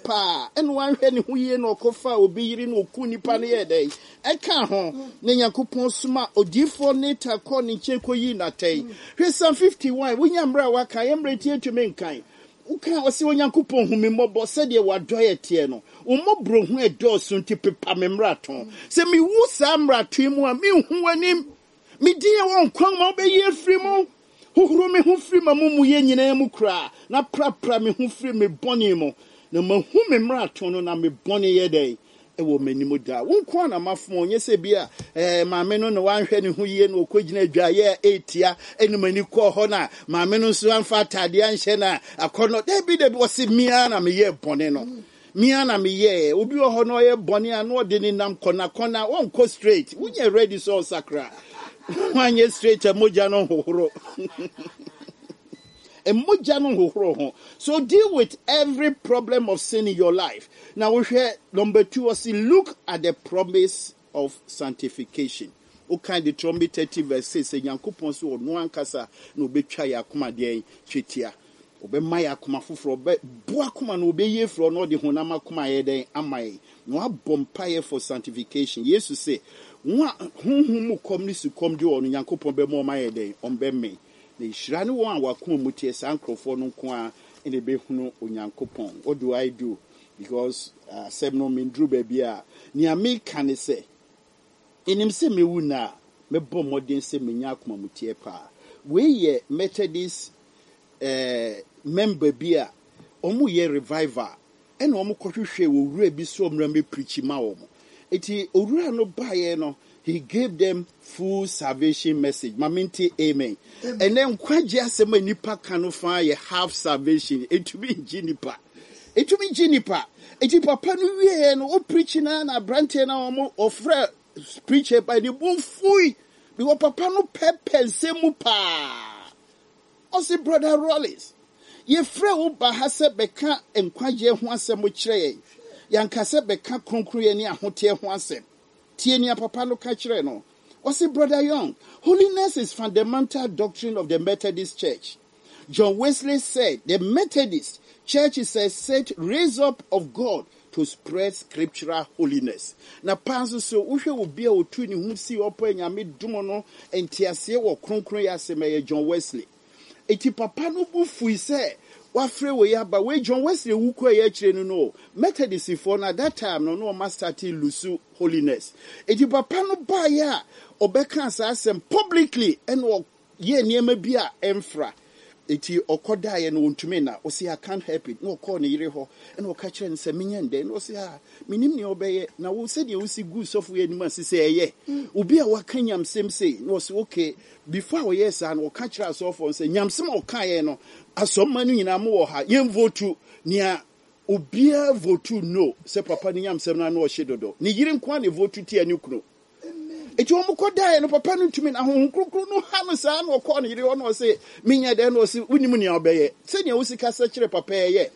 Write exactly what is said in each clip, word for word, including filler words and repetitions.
Paa ɛna wanhwɛ ne ho yie na ɔkɔfa obi yere na ɔku nipa no yɛ dɛn ɛka ho na Nyankopɔn soma odiyifoɔ Natan kɔɔ ne nkyɛn kɔyii n'atɛn. Hwɛ Psalm fifty-one, wonya mmerɛ a waka yɛ mmerɛ nti yɛntumi nkan. Woka ɔsɛ Onyankopɔn hu me mmɔbɔ sɛdeɛ w'adɔeɛ teɛ no, wo mmɔborɔ hu ɛdɔɔso nti pepa me mmarato. Sɛ mewu saa mmarato yi mu a, menhu w'anim. Me din a ɛwɔ nkwa ma wobɛyi afiri mu. Hohoro me ho firi m'amumuyɛ nyinaa mu koraa, na prapra me ho firi me bɔne mu. Na mahu me mmarato no, na me bɔne yɛ dɛn ɛwɔ m'anim daa. Wo nko ara na mafom, ɔnyɛ sɛ bi a eh, maame no na wanhwɛ ne ho yie na ɔkɔgyina adwaeɛ a ɛretia ɛne m'ani kɔɔ hɔ na maame no nso amfa ataadeɛ anhyɛ na akɔnnɔ. Dabi, dabi, ɔse me ara na meyɛɛ bɔne no. Me ara na meyɛɛ. Obi wɔ hɔ na ɔyɛ bɔne a na ɔde ne nam kɔnakɔna, ɔnkɔ straight. Wonyɛ ready sɛ ɔsakra. Wanyɛ straight a, mogya no hohoro. Mogya no hohoro ho. So deal with every problem of sin in your life. Now wohwɛ number two, ɔse look at the promise of sanctification. Wokan Deuteronomy thirty verse six sɛ Nyankopɔn sɛ ɔno ankasa na obɛtwa yɛ akoma deɛn twetia. Ɔbɛma yɛ akoma foforɔ, ɔbɛbu akoma no, ɔbɛyi afiri hɔ na ɔde honam akoma ayɛ dɛn ama yɛn. Na wabɔ mpaeɛ for sanctification. Yesu sɛ, wɔn a honhom mu kɔm ne sukɔm de wɔn no, Nyankopɔn bɛma wɔn ayɛ dɛn? Ɔmbɛmee. Na nhyira ne wɔn a wakoma mu teɛ, saa nkurɔfoɔ no nko ara na ɛbɛhunu Onyankopɔn. What do I do? Because asɛm no menduru baabi a nea meka ne sɛ, ɛnim sɛ mewu na a, mɛbɔ mmɔden sɛ menya akoma mu teɛ paa. Wei yɛ Methodist eh, member bi a ɔmo yɛ revival ɛna ɔmo kɔhwehwɛ owura bi sɛ ɔmmra mmɛpreach ma wɔn. Eti owura no baeɛ no, he gave them full salvation message. Ma mente amen. Ɛnɛ nkwagye asɛm a nipa ka no fa yɛ half salvation. Etumi ngye nipa. Etumi gye nipa. Eti papa no wieɛ no, o preach na na aberanteɛ na ɔmo ɔfrɛ preacher ba ne bo fui. Because papa no pɛpɛ nsɛm mu paa. Ɔsi, "Brother Rollins, yɛfrɛ wo ba ha sɛ bɛka nkwagyeɛ ho asɛm kyerɛ yɛn. Yɛnka sɛ bɛka kronkronyɛ ne ahoteɛ ho asɛm." Tie nea papa no ka kyerɛ no. Ɔsi, "Brother Young, holiness is fundamental doctrine of the Methodist Church. John Wesley said the Methodist Church is a sect raised up of God to spread scriptural holiness." Na paa nso so, wohwɛ obi a otu ne ho si ɔpɔ Nyame dom no nteaseɛ wɔ kronkron yɛ asɛm, ɛyɛ John Wesley. Eti papa no bu fui sɛ wafrɛ wei aba wei. John Wesley wu kɔ ɛyɛ akyire no no Methodistfoɔ no at that time no na ɔma start lose holiness. Eti papa no baeɛ a ɔbɛka saa asɛm publicly ɛna ɔyɛ nneɛma bi a ɛmfra. Eti ɔkɔdaeɛ no ɔntumi na ɔsi, "I can't help it," na ɔkɔɔ ne yere hɔ ɛna ɔka kyerɛ no sɛ, "Menyɛ ndɛn?" Na ɔsi, "Ah, menim nea ɔbɛyɛ na wo sɛdeɛ wosi gu sɔfo yɛ anim ase sɛ ɛyɛ obi a waka nyamsɛm sei." Na ɔsi, "Okay." Before a ɔyɛ saa no, ɔka kyerɛ asɔfoɔ no sɛ nyamsɛm a ɔkaeɛ no, asɔmma no nyinaa mo wɔ ha, yɛn vote. Nea obiara vote no sɛ papa no nyamsɛm no ano ɔhye dodo. Ne yere nko a ne vote tia ne kunu. Eti wɔn kɔ daeɛ no, papa no ntumi na Honhom Kronkron no ha no saa na ɔkɔɔ ne yere hɔ na ɔse, "Menyɛ dɛn?" Na ɔse, "Wonim nea ɔbɛyɛ sɛnea wosi kasa kyerɛ papa yɛ."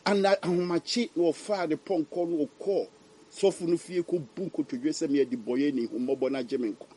Ana ahomakye na ɔfaa ne pɔnkɔ no ɔkɔɔ sɔfo no fie kɔbu nkotodwe sɛ, "Meyɛ de bɔyɛ ne hummɔbɔ no agye me nkwa."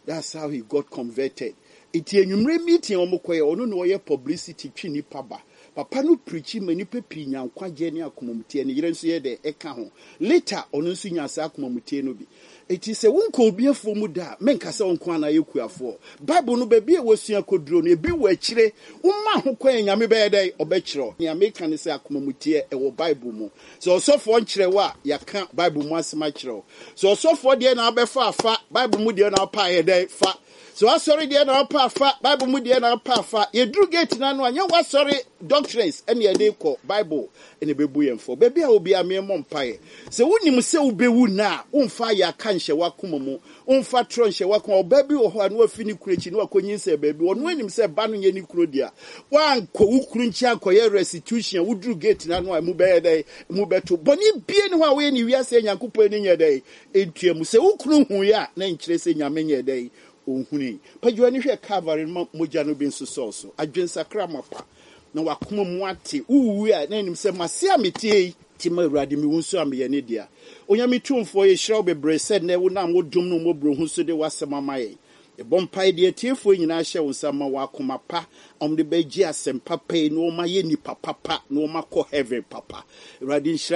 That's how he got converted. Eti enwumere meeting a wɔn kɔyɛ, ɔno na ɔyɛ publicity twi nipa ba. Papa no preach ma nipa pii nya nkwagye ne akomamutie. Ne yere nso yɛ dɛ ɛka ho. Later ɔno nso nya saa akomamutie no bi. Eti sɛ wonkɔ obi afuo mu da a, menka sɛ wo nko ana yɛ kuafoɔ. Bible no baabi a wɔsua koduro no ebi wɔ akyire. Woma ho kwan a, Nyame bɛyɛ dɛ ɔbɛkyerɛw. Nea meka ne sɛ akomamutie ɛwɔ Bible mu. Sɛ ɔsɔfoɔ nkyerɛ wo a, yɛaka Bible mu asɛm akyerɛ wo. Sɛ ɔsɔfoɔ deɛ na wabɛfa afa, Bible mu deɛ na wapa ayɛ dɛ fa. Sɛ wasɔre deɛ na wapa afa, Bible mu deɛ na wapa afa. Yɛduru gate no ano a, nyɛ wasɔre doctrines ɛne yɛde kɔ, Bible ɛna ɛbɛbu yɛn fɔ. Baabi a obi a meɛmmɔ mpaeɛ sɛ wonim sɛ wobɛwu na a, womfa ayɛ aka nhyɛ w'akoma mu, womfa torɔ nhyɛ w'akoma. Ɔbaa bi wɔ hɔ a na wafi ne kuro akyi na wakɔnyinsɛn baabi, ɔno anim sɛ ba no nyɛ ne kuro dea. Woankɔ wo kuro nkyɛn ankɔyɛ restitution a, woduru gate no ano a, ɛmu bɛyɛ dɛn? Mu bɛto. Bɔne bie ne hɔ a woyɛ ne wiase a Nyankopɔn ani nyɛ dɛn ɛntua mu. Sɛ wo kunu huiɛ a, na nkyerɛ sɛ Nyame nyɛ dɛn ɔnhunui. Pagya w'ani hwɛ Calvary no ma mogya no bi nso sɔɔ so. Adwensakra mapa na wakoma mu ate. Wowuwu a, na anim sɛ mase a metie yi nti ma Awurade mewu nso a meyɛ ne dea. Onyame tumfoɔ, yɛhyira wo bebree sɛ nnɛ wonam wo dom no mmɔborɔhu so de w'asɛm ama yɛn. Yɛbɔ mpae deɛ atiefoɔ nyinaa hyɛ wo nsa ma wɔ akoma pa a ɔmde bɛgye asɛm papa yi na wɔma yɛ nnipa papa na wɔma kɔ heaven papa. Awurade nhyira.